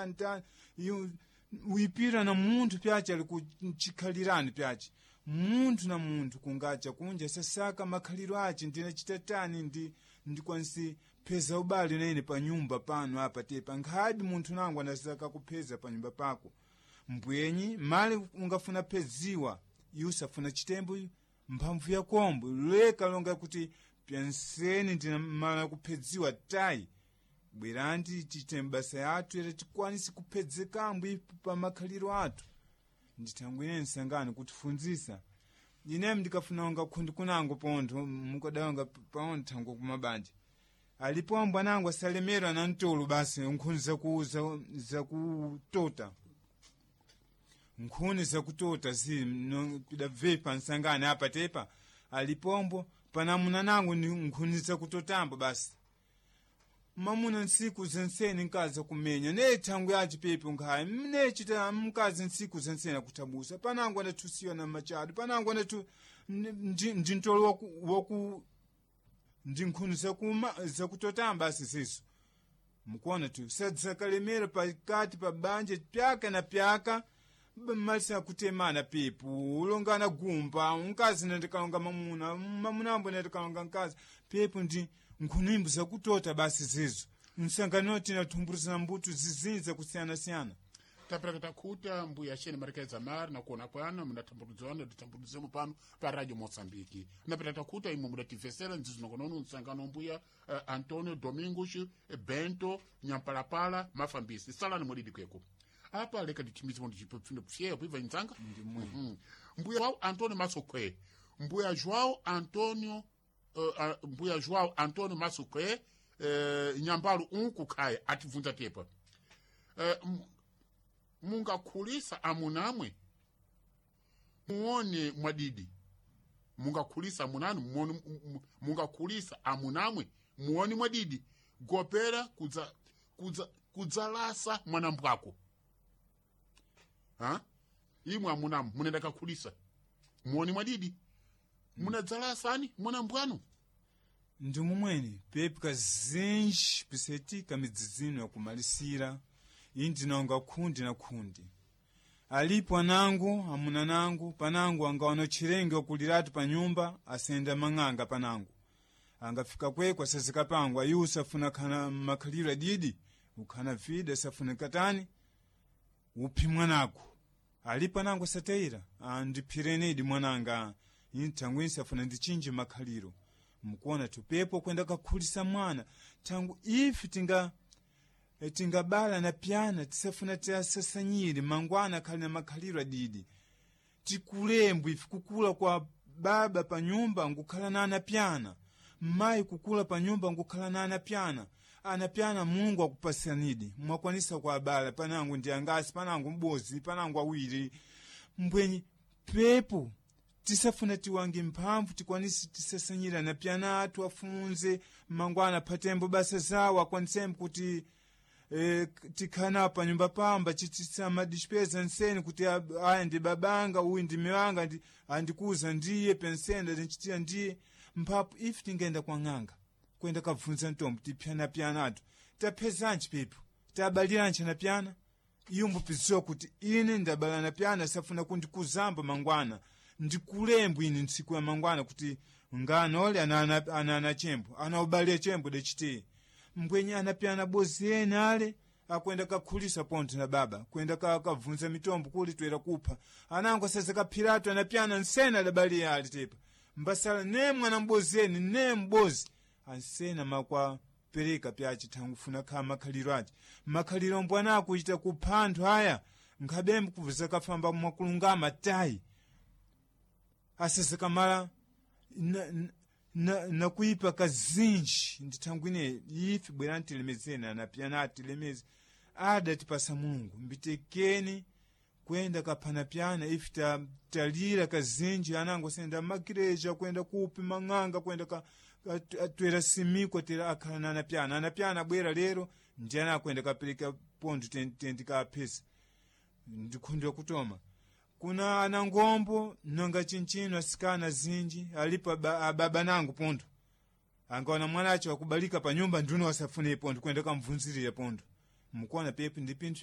Tani wipira na munthu pyace ali kuchikhalirani pyace munthu na munthu kungacha kunja sasaka makhaliro ace ndinachita tani ndi ndikwanisi pheza ubale nene pa nyumba pano apa tepa nkhadi munthu nangu anasaka kupheza pa nyumba pako mbwenyi mali ungafuna pheziwa iwe usafuna chitembo mphamvu yakombo leka longa kuti pyanseni ndina mala kuphedziwa tayi bwerandi tichite mbasa yathu ere tikwanise kuphezekambo ipo pa makhaliro athu. Ndithangwine nsangano kutifunzisa ine ndikafuna unga khundi kunango pontho mukadawanga paontho thango kumabanja alipo ambwanango asalemerwa na mtolo basi nkhuni zakutota nkhuni zakutota zi pidabve nsangano apa tepa alipombo panamuna nango ni nkhuni zakutotambo basi mamuna ntsiku zenseni nkazi akumenya ne thangu yace pepo nkhaya mnechita mkazi ntsiku zenseni akuthabusa panango andathusiwa na machado panango andathu ndi ntolo waku ndi nkhuni zakuma zakutotamba asiziso mukuona tu sadzakalemera pakati pa banja pyaka na pyaka malisa akutemana pepo ulongana gumba mkazi nandikalonga mamuna mamuna ambo nandikalonga mkazi pepo ndi nkhunimbo zakutota basi zizo msangano tinathumbulizana mbuto zizinji zakusiyanasiyana. Tapereka takhuta mbuya xeni marekedza mari nakona kwano mudathambulidzana titambulidzemo pano pa radio Moçambique. Napeta takhuta imwe mudativesera nzizo nokonono msangano mbuya Antonio Domingos Bento Nyampalapala Mafambisi salani mwedidi kweko apa leka ndithimize ndipfino pfyepo ibva inzanga mbuya wao Antonio Masokwe mbuya João Antonio mbuya João Antonio Masokwe nyambalu unku khaya atibvunza tepa mungakhulisa amunamwe muone mwadidi mungakhulisa amunanu muone mungakhulisa amunamwe muone mwadidi gopera kudza kudza kudzalasa mwanambwako ha imwe amunamwe munenda kakhulisa muone mwadidi munadzalasani mwanambwanu. Ndi mumweni pepu kazinji pisetika midzizino yakumalisira iyi ndinonga khundi na khundi alipo anango amuna nangu panango angaona tchirenge wakuliratu pa nyumba asenda mang'anga panango angafika kwekwe asazika pango ayi usafuna khana makhaliro adidi ukhana vida asafuna katani uphi mwanako alipo anango asatayira andiphirenedi mwananga thangu insafuna ndichinje makhaliro mukuona tupepo kwenda kakhulisa mwana thangu ife tinga tingabala na pyana tisafuna tiasasanyire mangwana akhali na makhaliro adidi tikulembwe ife kukula kwa baba pa nyumba ngukhala na anapyana mayi kukula pa nyumba ngukhala na anapyana anapyana Mulungu akupasanidi mwakwanisa kwa abala panango ndi angasi panango m'bozi panango awiri mbwenyi pepo tisafuna tiwange mphamvu tikwanise tisasanyira na pyana athu afunze mangwana phatembo basa zawo akwanisembo kuti tikhana pa nyumba pamba chitisamadichipeza nseni kuti aya ndi babanga uyu ndi miwanga ndi andikuza ndiye pensenda ndinchitira ndiye mphapo ife tingenda kwa ng'anga kwenda kabvunza ntombo tipyanapyana athu taphezanji pepo tabaliranji anapyana iyo mbupiziwa kuti ine ndabala napyana safuna kundikuzamba mangwana ndikulembwe ine ntsiku ya mangwana kuti nganole ana chembo ana chembo dechiteye mbwenye anapyana bozi ene ale akwenda kakhulisa pontho na baba kwenda kavunza mitombo kuli twera kupha anango asaza kaphiratu anapyana nsena adabaliya ali tepa mbasala ne mwana mbozi ene ne mbozi ansena makwa pereka pyace thangu funa khala makhaliro ace makhaliro mbwana akuchita kupha anthu aya nkhabembe kuvuza kafamba mwakulungama tayi asazakamala nakuipa kazinji ndithangwine ife bwerani tilemezeni anapyana atilemeze adatipasa Mulungu mbitekeni kwenda kaphanapyana ife talira kazinji anango senda makireja kwenda kupi mang'anga kwenda twera simiko tera akhala na anapyana anapyana abwera lero ndiyana akwenda kapereka pontho tendikaphesa ndikhundira kutoma kuna anangombo nonga chinchino asikana zinji alipo ababa nangu pontho angaona mwana acho akubalika pa nyumba nduna wasafune pontho kwenda kamvunzirira pontho mukuona pepo ndi pinthu.